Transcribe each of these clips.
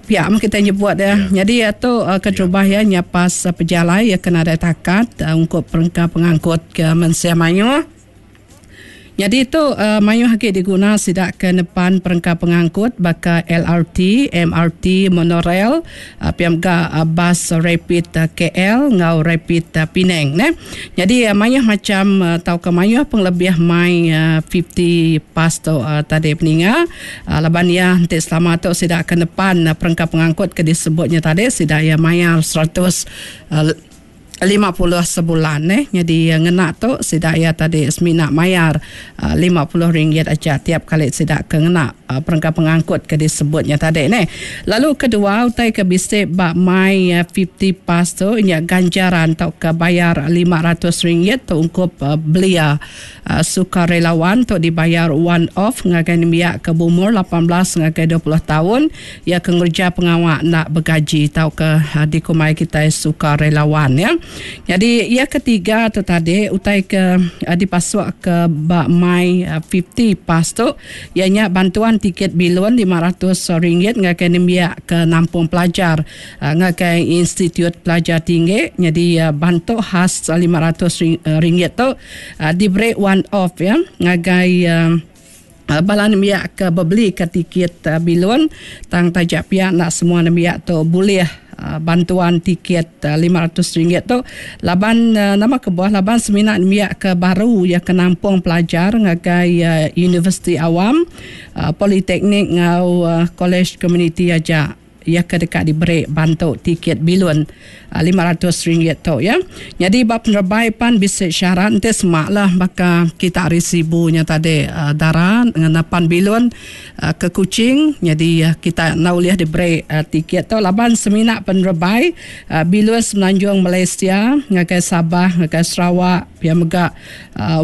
Pia meh kitai nyebut iya. Nyadi iya tu keterubah iya nyapas pejalai iya ke nadai takat ungkup perengka pengangkut ke mensia mayuh. Nyadi tu mayuh agi diguna sida ke nepan perengka pengangkut baka LRT, MRT, monorail, pia mega bas rapid KL enggau rapid Penang neh. Nyadi mayuh macham tauka mayuh pengelebih mai fifty pass tu tadi peninga laban iya enti selama tu sida ke nepan perengka pengangkut ke disebut nya tadi sida iya mayar seratus 50 sebulan neh. Nyadi ngena tu sida iya tadi semina mayar 50 ringgit aja tiap kali sida ke ngena perengka pengangkut ke disebut nya tadi neh. Lalu kedua utai ke bisi ba My 50 Pass tu nya ganjaran tauka bayar 500 ringgit tu ungkup belia sukarelawan tu dibayar one off ngagai nembiak ke beumur 18 ngagai 20 taun iya ke ngereja pengawa enda begaji tauka dikumbai kitai sukarelawan ya. Nyadi iya ketiga tu tadi utai ke dipasuk ke ba My 50 Pass tu iya nya bantuan tiket bilun 500 ringgit ngagai nembiak ke nampung pelajar ngagai institut pelajar tinggi. Nyadi bantu khas 500 ringgit tu diberi one off ya ngagai bala nembiak ke bebelika tiket bilun tang taja pia enda semua nembiak tu bulih bantuan tiket 500 ringgit tu laban nama kebuah laban semina nembiak ke baru iya ke nampung pelajar ngagai universiti awam, politeknik enggau kolej komuniti aja. Iya ke deka diberi bantu tiket bilun 500 ringgit tu ya. Nyadi ba penerebai pan bisi syarat enti sema lah baka kita ari Sibu nya tadi dara nepan bilun ke Kuching nyadi kita enda ulih diberi tiket tu laban semina penerebai bilun Semenanjung Malaysia ngagai Sabah ngagai Sarawak pia mega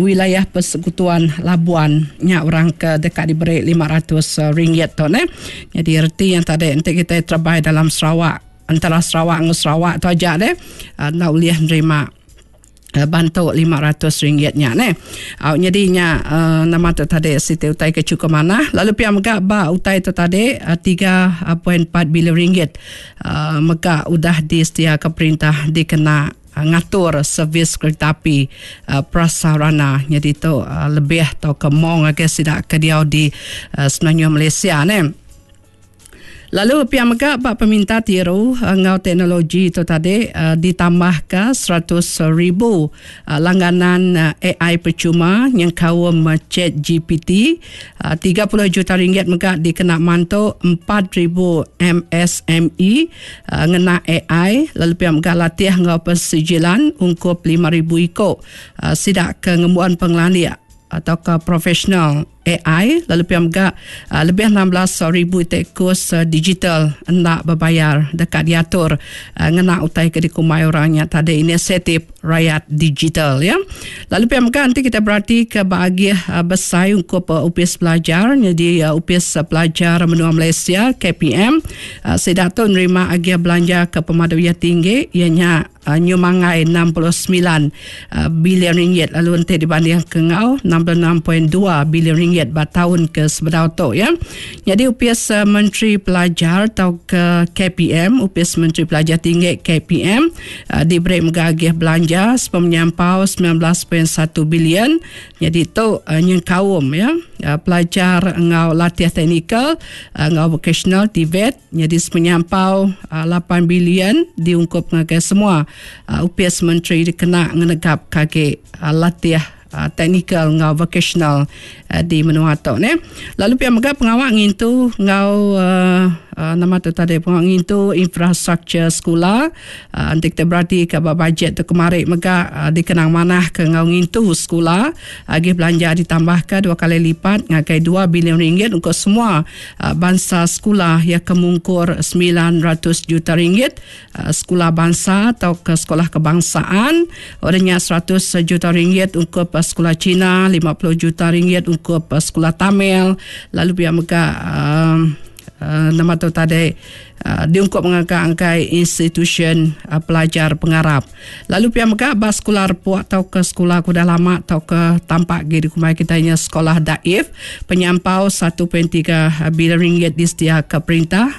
Wilayah Persekutuan Labuan nya orang ke deka diberi 500 ringgit tu neh. Nyadi reti yang tadi enti kitai terebai dalam Sarawak antara Sarawak enggau Sarawak tu aja deh enda ulih nerima bantu 500 ringgit nya neh. Au nyadi nya nama tu tadi siti utai ke chukup manah lalu pia mega ba utai tu tadi 3.4 bilion ringgit mega udah disediaka perintah dikena ngatur servis kereta api prasarana nyadi tu lebih tauka mong ngagai sida ke diau di Semenanjung Malaysia neh. Lalu pia mega ba peminta tiru enggau teknologi tu tadi ditambahka 100,000 langganan AI percuma nyengkaum ChatGPT 30 juta ringgit mega dikena mantu 4,000 MSME Ngena ai lalu pia mega latih enggau persijilan ungkup 5,000 iku sida ke ngembuan pengelandik tauka profesional ai lalu pia mega lebih 16,000 iti kus digital enda bebayar deka diatur ngena utai ke dikumbai orang nya tadi inisiatif rayat digital ya. Lalu pia mega enti kita beratika ba agih besai ungkup Opis Pelajar nyadi Opis Pelajar Menua Malaysia KPM Sida tu nerima agih belanja ke pemadu iya tinggi iya nya nyumangai 69 bilion ringgit lalu enti dibanding ke enggau 66.2 bilion ringgit ba taun ke sebedau tu ya. Nyadi Opis Menteri Pelajar tauka KPM, Opis Menteri Pelajar Tinggi KPM diberi mega agih belanja sepemenyampau 19.1 bilion. Nyadi tu nyengkaum ya pelajar enggau latih teknikal enggau vokasional TVET nyadi sepenyampau 8 bilion diungkup ngagai semua opis menteri dikena ngenegapka agi latih teknikal enggau vokasional di menua tu neh. Lalu pia mega pengawa ngintu enggau nama tu tadi pengawa ngintu infrastruktur sekula Enti kitai beratika ba bajet tu kemari mega dikenang manah ke enggau ngintu sekula agih belanja ditambahka dua kali lipat ngagai dua bilion ringgit ungkup semua bansa sekula iya ke mungkur 900 juta ringgit sekula bansa tauka sekolah kebangsaan udah nya 100 juta ringgit ungkup sekula Cina 50 juta ringgit ungkup sekula Tamil lalu pia mega Nama tu tadi diungkup ngaga angkai institusyen pelajar pengarap. Lalu pia mega ba sekula repuk tauka sekula ke udah lama tauka tampak agi dikumbai kitai nya sekolah daif penyampau 1.3 bilion ringgit disediaka perintah.